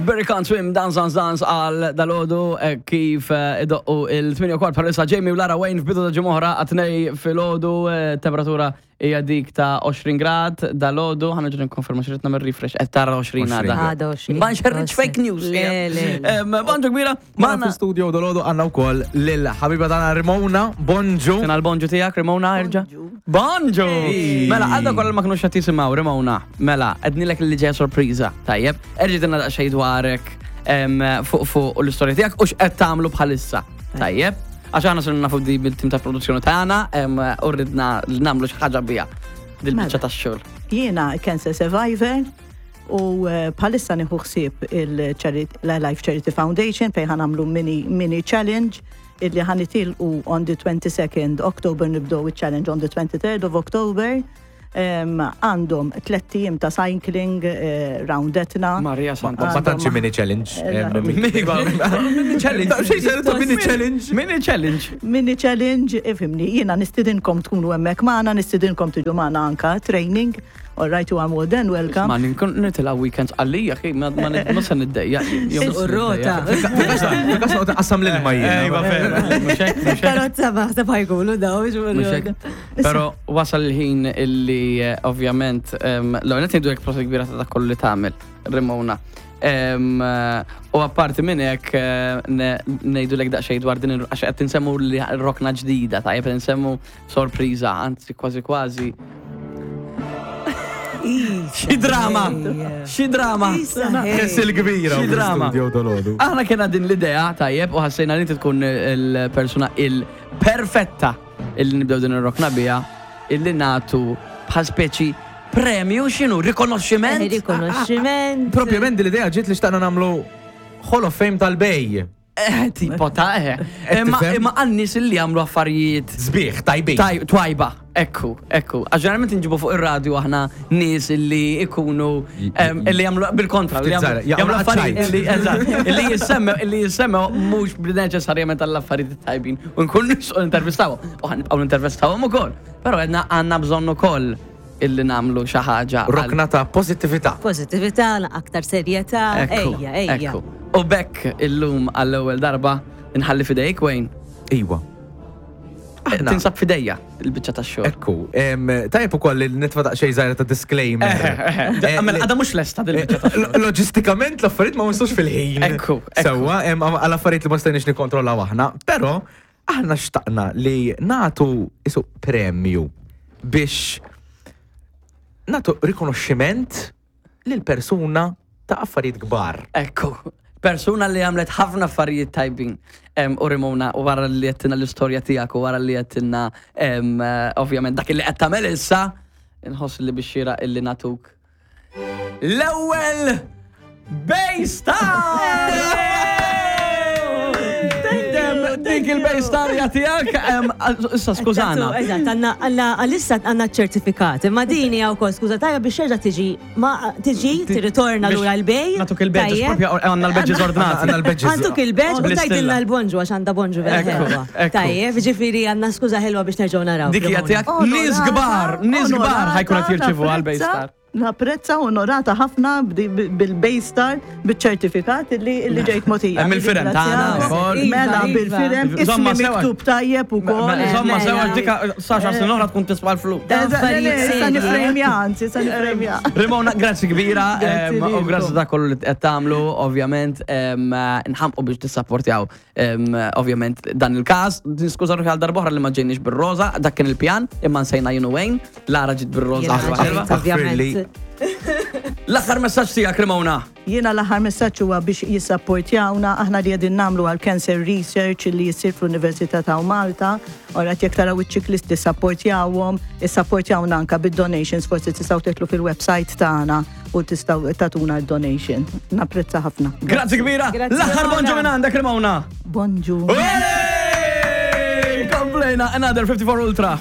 Berry Can't Swim, Dance Dance Dance għal dalodu eh, kif eh, idoqqu il-8 kwart bħalissa Jamie u Lara Wayne f'bidu ta' ġimgħa għat-tnej filgħodu eh, temperatura hija dik ta' 20 grad dalodu ħa nerġa' nikkonferma xi rid nagħmel refresh qed tara 20 għada. Għada 20. Ma nxerridx fake news. Le, le, le. Bonġu kbira, Magħna magħna fl-studio dolodu għandna wkoll lil ħabiba tagħna Rimona. Bonġu. Sena l-bonġu tiegħek Rimona erġa'. Bonġu! Mela, għadda kollha ma kinux qed jisimgħu Rimona. Mela, għednilek li ġejja sorpriża. Tajjeb, erġa' dinna daqsxejn dwarek fuq fuq u l-istorja tiegħek u x'qed tagħmlu bħalissa. Tajjeb, għax aħna sirna nafu di bil-tim ta' produzzjoni tagħna u ridna li nagħmlu xi ħaġa biha dil-biċċa Mela. tax-xogħol. Jiena cancer survivor u eh, bħalissa nieħu ħsieb il-Life Charity Foundation fejn ħa nagħmlu mini, mini challenge illi ħa nitilqu on the 22nd October nibdew il-challenge on the 23rd of October. Għandhom tlett ijiem ta' cycling eh, round Etna. Maria Santa. Ma tantx mini challenge. Mini challenge. Mini challenge. Mini challenge. Mini challenge, ifhimni, jiena nistidinkom tkunu hemmhekk magħna, nistidinkom tiġu magħna anka training. All right, you are more than welcome. Ma ninkun nitilgħu weekends għalija, xi ma ma se niddejja. U rota. Fil-kas noqgħod qassam l-ilma jien. Ejwa vera. Mhux hekk, mhux hekk. Karozza maħseb ħajkunu daw, Mhux hekk. Però wasal il-ħin illi eh, ovvjament l-ewwel qed ngħidu hekk proset kbira ta' dak kollu li tagħmel, Rimona. Em, eh, U apparti minn hekk eh, ne- ngħidulek daqsxejn dwar din il- għax qed insemmu li rokna ġdida, tajjeb qed insemmu sorpriża, anzi kważi kważi. Xi drama! Xi drama! Kess il-kbira. Xi drama. Studio dolodu. Aħna kena din l-idea, tajjeb, u ħassejna li inti tkun il-persuna il-perfetta illi nibdew din ir-rokna biha, illi natu bħal speċi premju x'inhu, rikonoxximent. Rikonoxximent. Propjament din l-idea ġiet li xtaqna nagħmlu Hall of Fame tal-Bej. Eh, tipo ta' eh. Qed Imma tifhem? imma għal nies illi jagħmlu affarijiet Sbieħ, tajbin. Taj- Twajba, ekku, ekku. Għax ġeneralment nġibu fuq ir-radju aħna nies illi ikunu em, illi jagħmlu bil-kontra, li Ftit jagħmlu żgħar, jagħmlu jagħmlu affarijiet ċajt. illi eżatt, illi jissemmew illi jissemmew mhux neċessarjament għall-affarijiet tajbin u nkun nixtiequ nintervistawhom. U ħanibqgħu nintervistawhom ukoll. Però għedna għandna bżonn ukoll illi nagħmlu xi ħaġa. għal- Rokna ta' pozittività. Pozitività, aktar serjetà. Ekku, Ejja, ejja. ekku. U bekk illum għall-ewwel darba nħalli fidejk Wayne. Iwa. Aħna. Tinsab fidejja il-biċċa tax-xogħol. Ekku, em, tajjeb ukoll li nitfa' daqsxejn żgħira ta' disclaimer. Eh, Għamel li- għada mhux lesta dil-biċċa tax-xogħol. Lo- Loġistikament l-affarijiet ma waslux fil-ħin. Ekku, ekku. Sewwa, em, għal affarijiet li ma stajniex nikkontrollaw aħna, però aħna xtaqna li natu isu premju biex natu rikonoxximent lil persuna ta' affarijiet kbar. Ekku, persuna li għamlet ħafna affarijiet tajbin. Em, U Rimona, u wara li għettina l-istorja tiegħek u wara li għettina em, eh, ovvjament dak li qed tagħmel issa, inħoss li biex xira illi natuk. L-ewwel Baystar! Dik il-Baystar tiegħek, em, issa skużana. Eżatt, għanna għanna għalissa għanna ċertifikat. Imma din hija wkoll skuża tajja biex terġa' tiġi ma tiġi tirritorna Biex lura l-bej. Natuk il-badges, Tajjeb. propja għandna l-badges ordnati. Għandna l-badges. Għanduk il-badge u Bl-istilla. tajdilna l-bonġu għax għandha bonġu vera Ekku, ħelwa. ekku. Tajjeb, ġifieri għandna skuża ħelwa biex nerġgħu naraw. Dik hija tiegħek nies Onorata, kbar, nies kbar onorata, ħajkun qed jirċievu għal napprezza- Baystar. Napprezza onorata ħafna bil-Baystar, bil-ċertifikat illi illi ġejt motija. Hemm il-firem tagħna wkoll. Mela Iva, iva. bil-firem, ismi Żomma sewa. miktub tajjeb ukoll. Mela, Insomma, Mela. sewa dik sa xar snin oħra tkun tiswa l-flus. Da affarijiet Sa serji. nifremja, anzi, sa nifremja. Rimona, grazzi kbira, Grazzi em, u lilkom. grazzi ta' kollu li qed tagħmlu, ovvjament, em, nħamqu biex tissapportjaw, em, ovvjament, dan il-każ. Niskuża ruħi għal darba oħra li ma ġejniex bir-roża, dak kien il-pjan, imma nsejna jien u Wayne, Lara ġiet bir-roża. Jiena ħelwa ħelwa. ġejt, ovvjament. L-aħħar messaġġ tiegħek, Rimona. Jiena l-aħħar messaġġ huwa biex jissapportjawna aħna li qegħdin nagħmlu għal cancer research li jsir fl-Università ta' Malta. Ora jekk taraw iċ-ċiklisti sapportjawhom, issapportjawna anka bid-donations, forsi tistgħu titlu fil-website tagħna u tistgħu tatuna d-donation. Napprezza ħafna. Grazzi kbira. Grazzi, L-aħħar Rimona. bonġu minn għandek, Rimona. Bonġu. Komplejna, another 54 Ultra.